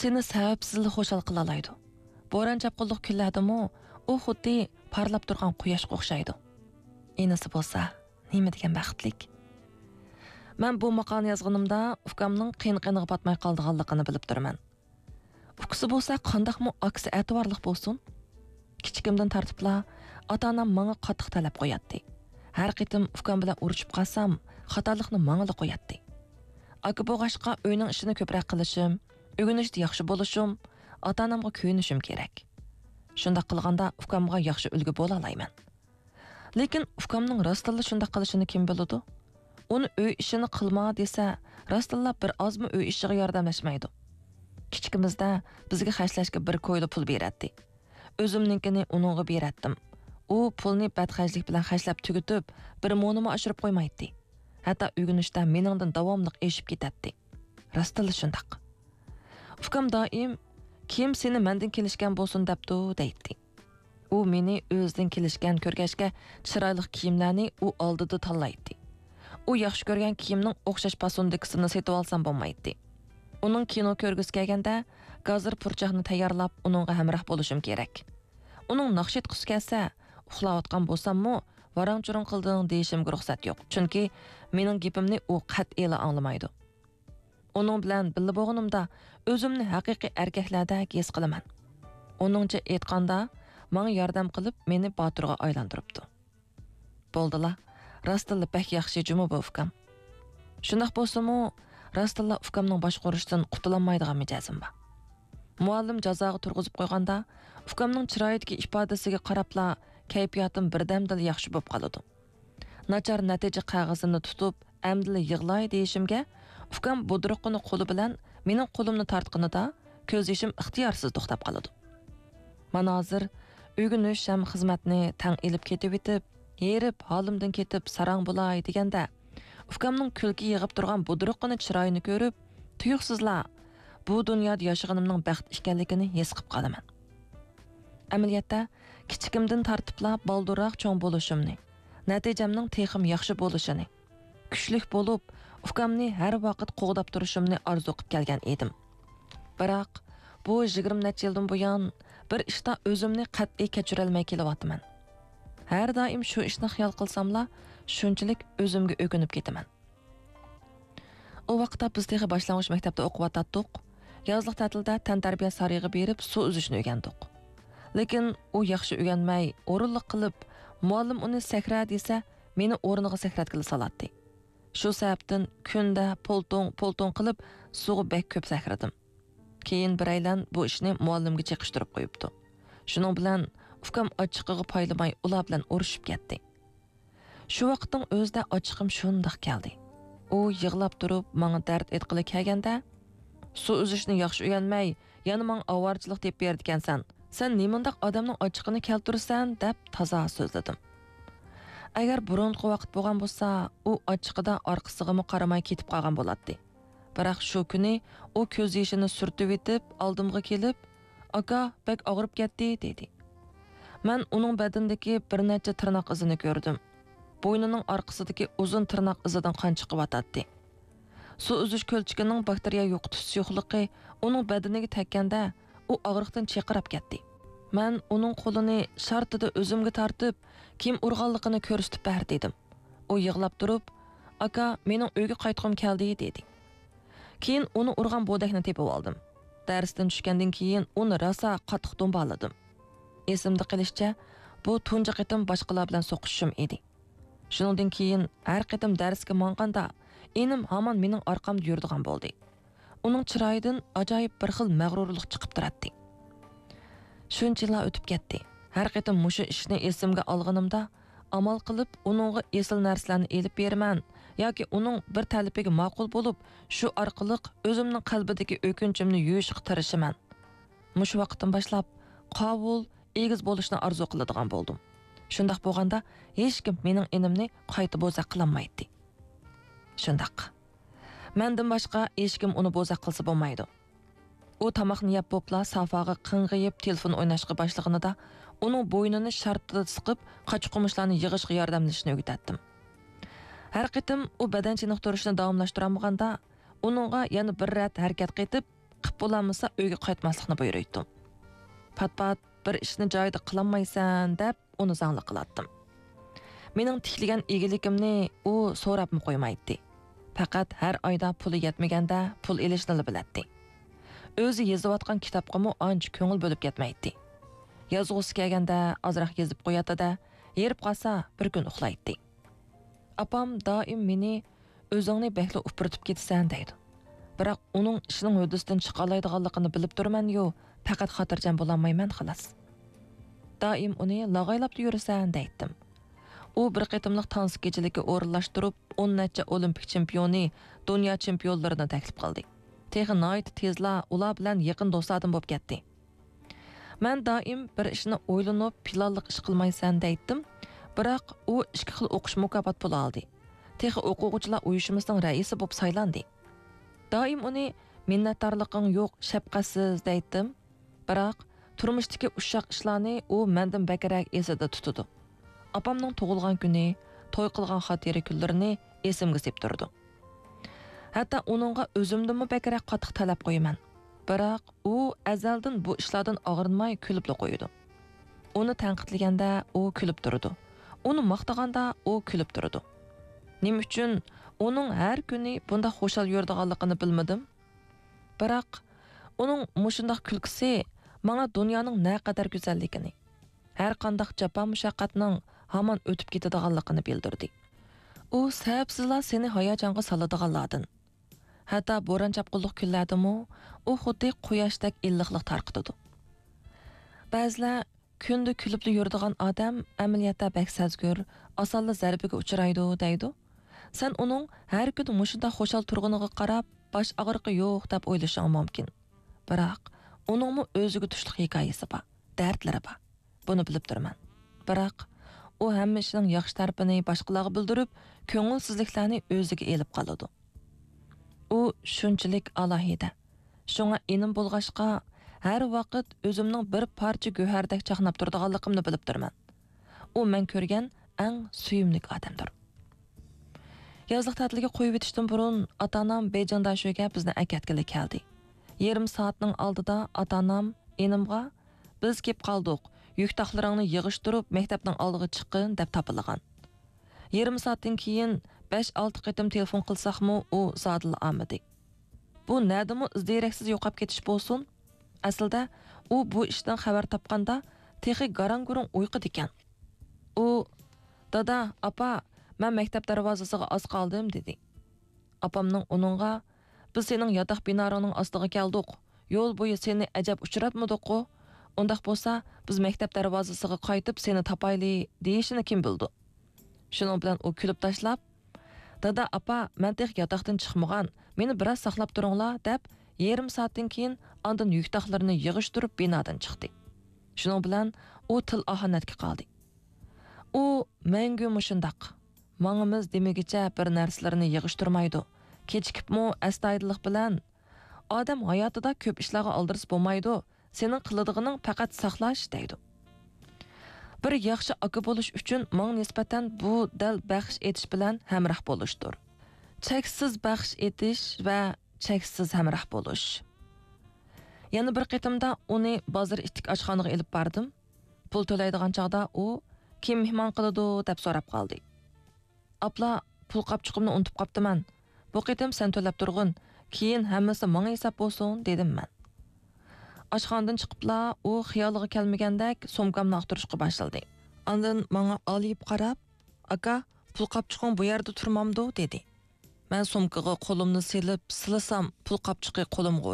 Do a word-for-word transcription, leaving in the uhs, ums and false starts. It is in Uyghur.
سېنى سەۋەبسىزلا خۇشال قىلالايدۇ. بوران-چاپقۇنلۇق كۈنلەردىمۇ ئۇ خۇددى پارلاپ تۇرغان قۇياشقا ئوخشايدۇ. ئىنىسى بولسا نېمە دېگەن بەختلىك. مەن بۇ ماقالىنى يازغىنىمدا ئۇكامنىڭ قىيىن-قىينىغا پاتماي قالىدىغانلىقىنى بىلىپ تۇرىمەن. ئۇكىسى بولسا قانداقمۇ ئاكىسى ئەتىۋارلىق بولسۇن؟ كىچىكىمدىن تارتىپلا ئاتا-ئانام ماڭا قاتتىق تەلەپ قوياتتى. ھەر قېتىم ئۇكام بىلەن ئۇرۇشۇپ قالسام، خاتالىقنى ماڭىلا قوياتتى. ئاكا بولغاچقا ئۆينىڭ ئىشىنى كۆپرەك قىلىشىم، ئۆگىنىشتە ياخشى بولۇشۇم، ئاتا-ئانامغا كۆيۈنۈشۈم كېرەك. شۇنداق قىلغاندا ئۇكامغا ياخشى ئۈلگە بولالايمەن. لېكىن ئۇكامنىڭ راستتىنلا شۇنداق قىلىشىنى كىم بىلىدۇ؟ ئۇنى ئۆي ئىشىنى قىلما دېسە، راستتىنلا بىر ئازمۇ ئۆي ئىشىغا ياردەملەشمەيدۇ. كىچىكىمىزدە بىزگە خەجلەشكە بىر كويلا پۇل بېرەتتى. ئۆزۈمنىڭكىنى ئۇنىڭغا بېرەتتىم. ئۇ پۇلنى بەتخەجلىك بىلەن خەجلەپ تۈگىتىپ، بىر مونىمۇ ئاشۇرۇپ قويمايتتى. ھەتتا ئۆگىنىشتە مېنىڭدىن داۋاملىق ئېشىپ كېتەتتى. راستتىنلا شۇنداق. ئۇكام دائىم، «كىم سېنى مەندىن كېلىشكەن بولسۇن دەپتۇ؟» دەيتتى. ئۇ مېنى ئۆزىدىن كېلىشكەن كۆرگەچكە، چىرايلىق كىيىملەرنى ئۇ ئالدىدا تاللايتتى. ئۇ ياخشى كۆرگەن كىيىمنىڭ ئوخشاش پاسوندىكىسىنى سېتىۋالسام بولمايتتى. ئۇنىڭ كىنو كۆرگۈسى كەلگەندە، گازىر پۇرچاقنى تەييارلاپ، ئۇنىڭغا ھەمراھ بولۇشۇم كېرەك. ئۇنىڭ ناخشا ئېيتقۇسى كەلسە، ئۇخلاۋاتقان بولساممۇ، «ۋاراڭ-چۇرۇڭ قىلدىڭ» دېيىشىمگە رۇخسەت يوق، چۈنكى مېنىڭ گېپىمنى ئۇ قەتئىيلا ئاڭلىمايدۇ. ئۇنىڭ بىلەن بىللە بولغىنىمدا، ئۆزۈمنى ھەقىقىي ئەركەكلەردەك ھېس قىلىمەن. ئۇنىڭچە ئېيتقاندا، ماڭا ياردەم قىلىپ، مېنى باتۇرغا ئايلاندۇرۇپتۇ. بولدىلا، راستتىنلا بەك ياخشى جۇمۇ بۇ ئۇكام. شۇنداق بولسىمۇ، راستتىنلا ئۇكامنىڭ باشقۇرۇشىدىن قۇتۇلالمايدىغان مىجەزىم بار. مۇئەللىم جازاغا تۇرغۇزۇپ قويغاندا، ئۇكامنىڭ چىرايىدىكى ئىپادىسىگە قاراپلا كەيپىياتىم بىردەمدىلا ياخشى بولۇپ قالىدۇ. ناچار نەتىجە قەغىزىنى تۇتۇپ، ئەمدىلا يىغلاي دېيىشىمگە، ئۇكام بۇدرۇقىنى قولى بىلەن مېنىڭ قولۇمنى تارتقىنىدا، كۆز يېشىم ئىختىيارسىز توختاپ قالىدۇ. مانا ھازىر ئۆگىنىش ھەم خىزمەتنى تەڭ ئېلىپ كېتىۋېتىپ، ھېرىپ، ھالىمدىن كېتىپ ساراڭ بولاي دېگەندە، ئۇكامنىڭ كۈلكە يىغىپ تۇرغان بۇدرۇقىنى، چىرايىنى كۆرۈپ، تۇيۇقسىزلا بۇ دۇنيادا ياشىغىنىمنىڭ بەخت ئىكەنلىكىنى ھېس قىلىپ قالىمەن. ئەمەلىيەتتە، كىچىكىمدىن تارتىپلا بالدۇرراق چوڭ بولۇشۇمنى، نەتىجەمنىڭ تېخىمۇ ياخشى بولۇشىنى، كۈچلۈك بولۇپ، ئۇكامنى ھەر ۋاقىت قوغداپ تۇرۇشۇمنى ئارزۇ قىپ كەلگەن ئىدىم. بىراق، بۇ يىگىرمە نەچچە يىلدىن بۇيان بىر ئىشتا ئۆزۈمنى قەتئىي كەچۈرەلمەي كېلىۋاتىمەن. ھەر دائىم شۇ ئىشنى خىيال قىلساملا، شۇنچىلىك ئۆزۈمگە ئۆكۈنۈپ كېتىمەن. ئۇ ۋاقىتتا بىز تېخى باشلانغۇچ مەكتەپتە ئوقۇۋاتاتتۇق. يازلىق تەتىلدە تەنتەربىيە سارىيىغا بېرىپ، سۇ ئۈزۈشنى ئۆگەندۇق. لېكىن ئۇ ياخشى ئۆگەنمەي، ئورۇنلۇق قىلىپ، مۇئەللىم ئۇنى سەكرە دېسە، مېنى ئورنىغا سەكرەتكىلى سالاتتى. شۇ سەۋەبتىن كۈندە پولتۇڭ، پولتۇڭ قىلىپ، سۇغا بەك كۆپ سەكرىدىم. كېيىن بىرەيلەن بۇ ئىشنى مۇئەللىمگە چېقىشتۇرۇپ قويۇپتۇ. شۇنىڭ بىلەن ئۇكام ئاچچىقىغا پايلىماي، ئۇلار بىلەن ئۇرۇشۇپ كەتتى. شۇ ۋاقىتنىڭ ئۆزىدە ئاچچىقىم شۇنداق كەلدى. ئۇ يىغلاپ تۇرۇپ ماڭا دەرد ئېيتقىلى كەلگەندە، «سۇ ئۈزۈشنى ياخشى ئۆگەنمەي، يەنە ماڭا ئاۋارىچىلىق تېپىپ بېرىدىكەنسەن. سەن نېمانداق ئادەمنىڭ ئاچچىقىنى كەلتۈرىسەن؟» دەپ تازا سۆزلىدىم. ئەگەر بۇرۇنقى ۋاقىت بولغان بولسا، ئۇ ئاچچىقىدا ئارقىسىغىمۇ قارىماي كېتىپ قالغان بولاتتى. بىراق شۇ كۈنى ئۇ كۆز يېشىنى سۈرتۈۋېتىپ، ئالدىمغا كېلىپ، «ئاكا، بەك ئاغرىپ كەتتى» دېدى. مەن ئۇنىڭ بەدىنىدىكى بىر نەچچە تىرناق ئىزىنى كۆردۈم. بوينىنىڭ ئارقىسىدىكى ئۇزۇن تىرناق ئىزىدىن قان چىقىۋاتاتتى. سۇ ئۈزۈش كۆلچىكىنىڭ باكتېرىيە يوقىتىش سۇيۇقلۇقى ئۇنىڭ بەدىنىگە تەگكەندە، ئۇ ئاغرىقتىن چىرقىراپ كەتتى. مەن ئۇنىڭ قولىنى شارتىدا ئۆزۈمگە تارتىپ، «كىم ئۇرغانلىقىنى كۆرسىتىپ بەر» دېدىم. ئۇ يىغلاپ تۇرۇپ، «ئاكا، مېنىڭ ئۆيگە قايتقۇم كەلدى» دېدى. كېيىن ئۇنى ئۇرغان بودەكنى تېپىۋالدىم. دەرستىن چۈشكەندىن كېيىن ئۇنى راسا قاتتىق دومبالىدىم. ئېسىمدە قېلىشىچە، بۇ تۇنجى قېتىم باشقىلار بىلەن سوقۇشۇشۇم ئىدى. شۇنىڭدىن كېيىن ھەر قېتىم دەرسكە ماڭغاندا، ئىنىم ھامان مېنىڭ ئارقامدا يۈرىدىغان بولدى. ئۇنىڭ چىرايىدىن ئاجايىپ بىر خىل مەغرۇرلۇق چىقىپ تۇراتتى. شۇنچە يىللار ئۆتۈپ كەتتى. ھەر قېتىم مۇشۇ ئىشنى ئېسىمگە ئالغىنىمدا، ئامال قىلىپ ئۇنىڭغا ئېسىل نەرسىلەرنى ئېلىپ بېرىمەن ياكى ئۇنىڭ بىر تەلىپىگە ماقۇل بولۇپ، شۇ ئارقىلىق ئۆزۈمنىڭ قەلبىدىكى ئۆكۈنچۈمنى يۇيۇشقا تىرىشىمەن. مۇشۇ ۋاقىتتىن باشلاپ قاۋۇل، ئېگىز بولۇشنى ئارزۇ قىلىدىغان بولدۇم. شۇنداق بولغاندا، ھېچكىم مېنىڭ ئىنىمنى قايتا بوزەك قىلالمايتتى. شۇنداق. مەندىن باشقا ھېچكىم ئۇنى بوزەك قىلسا بولمايدۇ. ئۇ تاماقنى يەپ بوپلا سافاغا قىڭغىيىپ تېلېفون ئويناشقا باشلىغىنىدا، ئۇنىڭ بوينىنى شارتىدا سىقىپ، قاچا-قۇمۇشلارنى يىغىشقا ياردەملىشىشنى ئۆگىتەتتىم. ھەر قېتىم ئۇ بەدەن چېنىقتۇرۇشنى داۋاملاشتۇرالمىغاندا، ئۇنىڭغا يەنە بىر رەت ھەرىكەت قېتىپ، قىپ بولالمىسا ئۆيگە قايتماسلىقنى بۇيرۇيتتۇم. پات-پات بىر ئىشنى جايىدا قىلالمايسەن دەپ ئۇنى زاڭلىق قىلاتتىم. مېنىڭ تىكلىگەن ئىگىلىكىمنى ئۇ سوراپمۇ قويمايتتى. پەقەت ھەر ئايدا پۇلى يەتمىگەندە پۇل ئېلىشنىلا بىلەتتى. ئۆزى يېزىۋاتقان كىتابقىمۇ ئانچە كۆڭۈل بۆلۈپ كەتمەيتتى. يازغۇسى كەلگەندە ئازراق يېزىپ قوياتتى-دە، ھېرىپ قالسا بىر كۈن ئۇخلايتتى. ئاپام دائىم مېنى «ئۆزۈڭنى بەكلا ئۇپرىتىپ كېتىسەن» دەيدۇ. بىراق ئۇنىڭ ئىشنىڭ ھۆددىسىدىن چىقالايدىغانلىقىنى بىلىپ تۇرىمەن-يۇ، پەقەت خاتىرجەم بولالمايمەن خالاس. دائىم ئۇنى لاغايلاپلا يۈرىسەن دەيتتىم. ئۇ بىر قېتىملىق تانسا كېچىلىكى ئورۇنلاشتۇرۇپ، ئون نەچچە ئولىمپىك چېمپىيونى، دۇنيا چېمپىيونلىرىنى تەكلىپ قىلدى. تېخى ناھايىتى تېزلا ئۇلار بىلەن يېقىن دوستلاردىن بولۇپ كەتتى. مەن دائىم بىر ئىشنى ئويلىنىپ، پىلانلىق ئىش قىلمايسەن دەيتتىم، بىراق ئۇ ئىككى خىل ئوقۇش مۇكاپات پۇلى ئالدى. تېخى ئوقۇغۇچىلار ئۇيۇشمىسىنىڭ رەئىسى بولۇپ سايلاندى. دائىم ئۇنى «مىننەتدارلىقىڭ يوق، شەپقەتسىز» دەيتتىم، بىراق تۇرمۇشتىكى ئۇششاق ئىشلارنى ئۇ مەندىن بەكرەك ئېسىدە تۇتىدۇ. ئاپامنىڭ تۇغۇلغان كۈنى، توي قىلغان خاتىرە كۈنلىرىنى ئېسىمگە سېلىپ تۇرىدۇ. ھەتتا ئۇنىڭغا ئۆزۈمدىنمۇ بەكرەك قاتتىق تەلەپ قويىمەن. بىراق ئۇ ئەزەلدىن بۇ ئىشلاردىن ئاغرىنماي كۈلۈپلا قويىدۇ. ئۇنى تەنقىدلىگەندە ئۇ كۈلۈپ تۇرىدۇ. ئۇنى ماختىغاندا ئۇ كۈلۈپ تۇرىدۇ. نېمە ئۈچۈن ئۇنىڭ ھەر كۈنى بۇنداق خۇشال يۈرىدىغانلىقىنى بىلمىدىم. بىراق ئۇنىڭ مۇشۇنداق كۈلكىسى ماڭا دۇنيانىڭ نەقەدەر گۈزەللىكىنى، ھەر قانداق جاپا-مۇشەققەتنىڭ ھامان ئۆتۈپ كېتىدىغانلىقىنى بىلدۈردى. ئۇ سەۋەبسىزلا سېنى ھاياجانغا سالىدىغانلاردىن. ھەتتا بوران-چاپقۇنلۇق كۈنلەردىمۇ ئۇ خۇددى قۇياشتەك ئىللىقلىق تارقىتىدۇ. بەزىلەر «كۈندە كۈلۈپلا يۈرىدىغان ئادەم ئەمەلىيەتتە بەك سەزگۈر، ئاسانلا زەربىگە ئۇچرايدۇ» دەيدۇ. سەن ئۇنىڭ ھەر كۈنى مۇشۇنداق خۇشال تۇرغىنىغا قاراپ، باش ئاغرىقى يوق دەپ ئويلىشىڭ مۇمكىن. بىراق ئۇنىڭمۇ ئۆزىگە تۇشلۇق ھېكايىسى بار، دەردلىرى بار. بۇنى بىلىپ تۇرىمەن. بىراق ئۇ ھەممە ئىشنىڭ ياخشى تەرىپىنى باشقىلارغا بىلدۈرۈپ، كۆڭۈلسىزلىكلەرنى ئۆزىگە ئېلىپ قالىدۇ. ئۇ شۇنچىلىك ئالاھىدە. شۇڭا ئىنىم بولغاچقا، ھەر ۋاقىت ئۆزۈمنىڭ بىر پارچە گۆھەردەك چاقناپ تۇرىدىغانلىقىمنى بىلىپ تۇرىمەن. ئۇ مەن كۆرگەن ئەڭ سۆيۈملۈك ئادەمدۇر. يازلىق تەتىلگە قويۇۋېتىشتىن بۇرۇن ئاتا-ئانام بېيجىڭداشۆگە بىزنى ئەكەتكىلى كەلدى. يېرىم سائەتنىڭ ئالدىدا ئاتا-ئانام ئىنىمغا، «بىز كېلىپ قالدۇق، يۈك-تاقلىرىڭنى يىغىشتۇرۇپ مەكتەپنىڭ ئالدىغا چىققىن» دەپ تاپىلىغان. يېرىم سائەتتىن كېيىن بەش-ئالتە قېتىم تېلېفون قىلساقمۇ، ئۇ زادىلا ئالمىدى. بۇ نەدىمۇ ئىز-دېرەكسىز يوقاپ كېتىش بولسۇن؟ ئەسلىدە ئۇ بۇ ئىشتىن خەۋەر تاپقاندا تېخى گاراڭ-گۇرۇڭ ئۇيقۇدىكەن. ئۇ، «دادا، ئاپا، مەن مەكتەپ دەرۋازىسىغا ئاز قالدىم» دېدى. ئاپامنىڭ ئۇنىڭغا، «بىز سېنىڭ ياتاق بىنارىڭنىڭ ئاستىغا كەلدۇق، يول بويى سېنى ئەجەب ئۇچراتمىدۇققۇ؟ ئۇنداق بولسا، بىز مەكتەپ دەرۋازىسىغا قايتىپ سېنى تاپايلى» دېيىشىنى كىم بىلىدۇ؟ شۇنىڭ بىلەن ئۇ كۈلۈپ تاشلاپ، «دادا، ئاپا، مەن تېخى ياتاقتىن چىقمىغان، مېنى بىراز ساقلاپ تۇرۇڭلار» دەپ، يېرىم سائەتتىن كېيىن ئاندىن يۈك-تاقلىرىنى يىغىشتۇرۇپ بىنادىن چىقتى. شۇنىڭ بىلەن ئۇ تىل ئاھانەتكە قالدى. ئۇ مەڭگۈ مۇشۇنداق. ماڭىمىز دېمىگىچە بىر نەرسىلىرىنى يىغىشتۇرمايدۇ. كېچىكىپمۇ ئەستايىدىللىق بىلەن، «ئادەم ھاياتىدا كۆپ ئىشلارغا ئالدىرىسا بولمايدۇ، سېنىڭ قىلىدىغىنىڭ پەقەت ساقلاش» دەيدۇ. بىر ياخشى ئاكا بولۇش ئۈچۈن ماڭا نىسبەتەن بۇ دەل بەخش ئېتىش بىلەن ھەمراھ بولۇشتۇر. چەكسىز بەخش ئېتىش ۋە چەكسىز ھەمراھ بولۇش. يەنە بىر قېتىمدا ئۇنى بازار ئىتتىك ئاشخانىغا ئېلىپ باردىم. پۇل تۆلەيدىغان چاغدا ئۇ، «كىم مېھمان قىلىدۇ؟» دەپ سوراپ قالدى. «ئاپلا، پۇل قاپچۇقۇمنى ئۇنتۇپ قاپتىمەن. بۇ قېتىم سەن تۆلەپ تۇرغىن، كېيىن ھەممىسى ماڭا ھېساب بولسۇن» دېدىم مەن. ئاشخانىدىن چىقىپلا ئۇ خىيالىغا كەلمىگەندەك سومكامنى ئاختۇرۇشقا باشلىدى. ئاندىن ماڭا ئالىيىپ قاراپ، «ئاكا، پۇل قاپچۇقۇڭ بۇ يەردە تۇرمامدۇ؟» دېدى. مەن سومكىغا قولۇمنى سېلىپ سىلىسام، پۇل قاپچۇقى قولۇمغا